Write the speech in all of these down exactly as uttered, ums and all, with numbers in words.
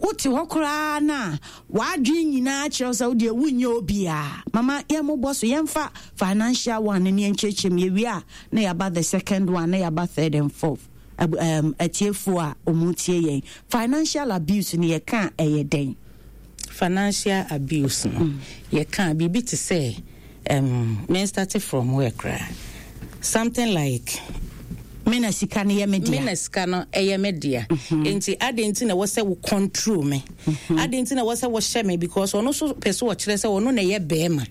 Wote hɔ koraa na w'adwene nyinaa kyerɛ sɛ wodeɛ wonyɛ obiaa. Mama, yɛmmobɔ so, yɛmfa financial one ne yɛnkyerɛkyerɛ mu. Yɛwie a, na yɛaba the second one, na yɛaba third and fourth. um, atiefoɔ a ɔmu tie yɛn, financial abuse no, yɛka ɛyɛ dɛn? Financial abuse no, mm. yɛka biribi te sɛ, um, me start from where koraa? Something like me na sika no yɛ me dea. Me na sika no ɛyɛ me dea, nti ade nti na ɛwɔ sɛ wo control me, ade nti na ɛwɔ sɛ wɔhyɛ me, because ɔno nso pɛ sɛ ɔkyerɛ sɛ ɔno na ɛyɛ bɛrima,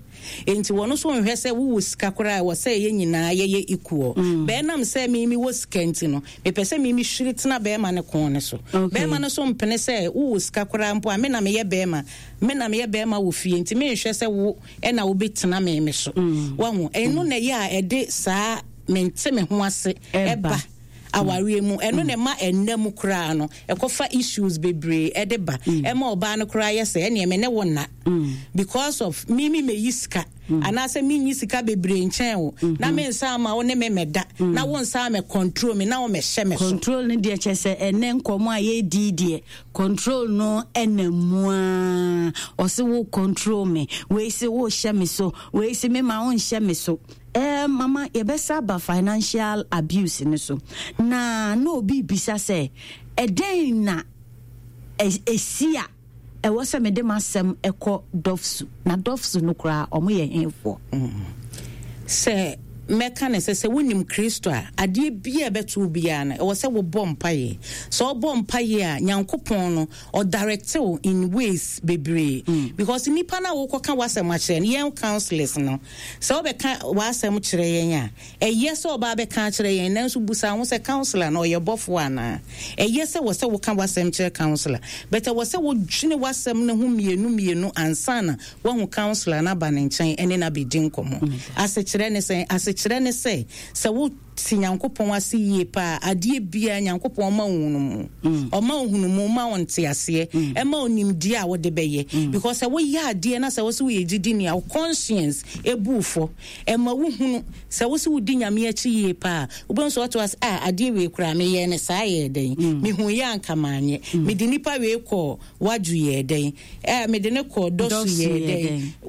nti wɔn nso nhwɛ sɛ wowɔ sika koraa, ɛwɔ sɛ ɛyɛ nyinaa yɛyɛ equal. Bɛɛnam sɛ mi mi wɔ sika nti no, mepɛ sɛ mi mi hwiri tena bɛrima ne kɔn ne so. Bɛrima no so mpene sɛ wowɔ sika koraa mpo a, me na meyɛ bɛrima, me na meyɛ bɛrima wɔ fie, nti menhwɛ sɛ wo ɛna wobɛtena me me so. Wahu, ɛno na ɛyɛ a ɛde saa mente me ho ase ɛba awareɛ mu. Ɛno na ɛma ɛnna mu koraa no ɛkɔfa issues bebree ɛde ba, ɛma ɔbaa no koraa yɛ sɛ ɛneɛ me ne wo nna because of me me meyi sika anaasɛ menyi sika bebree nkyɛn wo na me nsa ama wo ne me mɛda na wo nsa mɛ control me na wo mɛhyɛ me so. Control no deɛ, kyɛ sɛ ɛnɛ nkɔmmɔ a yɛdi deɛ, control no ɛna mu a ɔse wo control me, wei se wohyɛ me so, wei se me ma wo nhyɛ me so. eh, mama yɛbɛsa aba financial abuse no so na na obi bisa sɛ, ɛdɛn na ɛsi a ɛwɔ sɛ mede m'asɛm ɛkɔ D O F S U? Na D O F S U no koraa, ɔmo yɛ henfoɔ? Sɛ mɛka ne sɛ sɛ wonim Kristo a, adeɛ bia ɛbɛto wo biara no, ɛwɔ sɛ wobɔ mpayɛ. Sɛ wobɔ mpayɛ a, Nyankopɔn no ɔdirect wo in ways bebree mm. because nipa no a wokɔka w'asɛm akyerɛ no, yɛn counsellors no, sɛ wobɛka w'asɛm kyerɛ yɛn a, ɛyɛ sɛ ɔbaa bɛka akyerɛ yɛn, nanso busa ho sɛ counsellor no ɔyɛ bɔfoɔ anaa. Ɛyɛ sɛ wɔ sɛ woka w'asɛm kyerɛ counsellor, but ɛwɔ sɛ wodwene w'asɛm no ho mmienu mmienu ansa na woahu counsellor no aba ne nkyɛn ɛne no abɛdi nkɔmmɔ. Asekyerɛ ne sɛ asekyerɛ ne sɛ sɛ wo te Nyankopɔn ase yie paa, adeɛ biara Nyankopɔn ɔma wo hunu mu, ɔma wo hunu mu, ma wo nte aseɛ, ɛma wo nimdeɛ a wode bɛyɛ, because sɛ woyɛ adeɛ na sɛ wo sɛ woyɛ gyidi a, wo conscience ɛbu fɔ, ɛma wo hunu sɛ wo sɛ wodi Nyame akyi yie paa. Wobɛhu sɛ wɔte ase a, adeɛ wei koraa meyɛ ne saa yɛ dɛn? Mehu yɛ anka maanyɛ. Mede nipa wei kɔɔ wadwo yɛ dɛn? Ɛɛ, mede ne kɔɔ D O F S U yɛ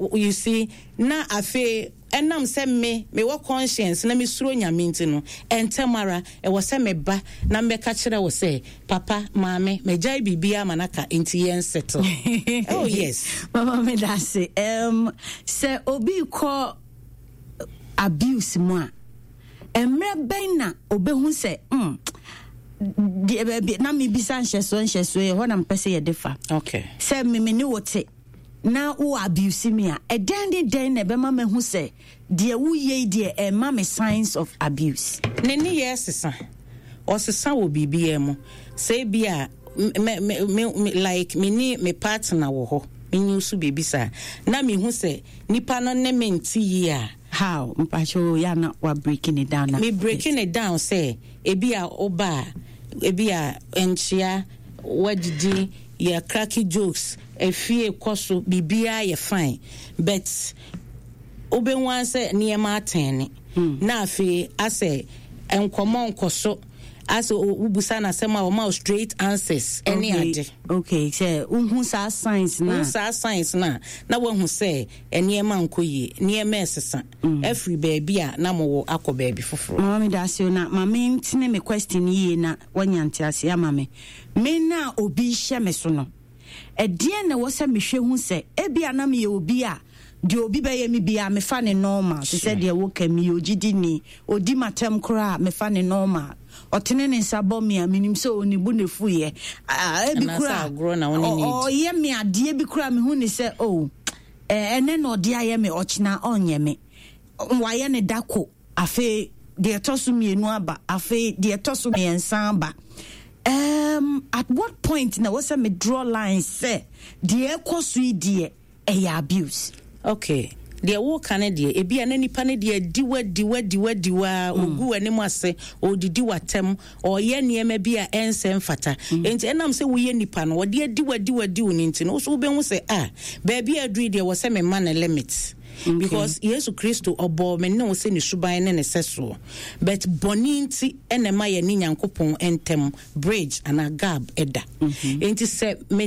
dɛn? You see, na afei ɛnam sɛ me mewɔ conscience na mesuro Nyame nti no, ɛntɛm ara ɛwɔ sɛ meba na mbɛka kyerɛ wo sɛ, papa, maame, magyae biribiara ma naka, nti yɛn settle. Oh yes. Mama, meda ase. um, sɛ obi kɔ abuse mu a, mmerɛ bɛn na obɛhu sɛ mm, deɛ baabi na mebisa nhyɛsoɔ nhyɛsoɔ yɛ hɔ na mpɛ sɛ yɛde fa? Okay. Sɛ meme ne wo te na wo abuse me a, ɛdɛn ne dɛn na ɛbɛma mahu sɛ deɛ woyɛ yi deɛ, ɛma me signs of abuse? Ne ne yɛ sesa, ɔsesa wɔ biribiara mu. Sɛ bi a me me me like me ne me partner wɔ hɔ, menyi so biribi saa na mehu sɛ nipa no ne me nte yie a. How? Mpakyɛ, yɛ na wa breaking it down na. Me breaking it down sɛ ebi a ɔba a, ebi a nkyea, wadidi, yɛ cracking jokes, efie kɔ so, biribiara yɛ fine, but wobɛhu sɛ nneɛma atɛn ne na afei asɛ nkɔmɔ nkɔ so, asɛ wobusa n'asɛm a, ɔma wo straight answers ɛne ade. Okay, sɛ wohu saa signs na. Wohu saa signs na na woahu sɛ nneɛma nkɔ yie, nneɛma ɛsesa afiri baabi a na mowɔ akɔ baabi foforɔ. Mama, me da ase o. Na ma mentene me question yie na woanya nteaseɛ ama me. Me na obi hyɛ me so no, ɛdeɛn na ɛwɔ sɛ mehwɛ hu sɛ ebia na meyɛ obi a deɛ obi bɛyɛ me biara mefa ne normal, te sɛ deɛ woka mi ogyidi ni, odi matam koraa mefa ne normal, ɔtene ne nsa bɔ me a, menim sɛ onibu ne fuyɛ ebi koraa, ɔyɛ me adeɛ bi koraa, mehu ne sɛ o, ɛnɛ na ɔde ayɛ me, ɔkyena ɔnyɛ me, wayɛ ne dako, afei deɛ ɛtɔ so mmienu aba, afei deɛ ɛtɔ so mmiɛnsa aba. um, at what point na wɔsɛ me draw line sɛ deɛ ɛkɔ so yi deɛ, ɛyɛ abuse? Okay, deɛ woka no deɛ, ebi a na nipa no deɛ adiwa diwa diwa diwa, ogu w'anim ase, ɔdidi w'atɛm, ɔyɛ nneɛma bi a ɛnsɛ mfata, nti ɛnam sɛ woyɛ nipa no, ɔde adiwa diwa diw ne nti no, wo so wobɛhu sɛ a baabi a aduru deɛ, wɔ sɛ mema ne limit, because Yesu Kristo ɔbɔɔ me ne wo sɛ ne suban ne ne sɛsoɔ, but bɔne nti ɛna ɛma yɛ ne Nyankopɔn ntɛm bridge anaa gap ɛda. Nti sɛ me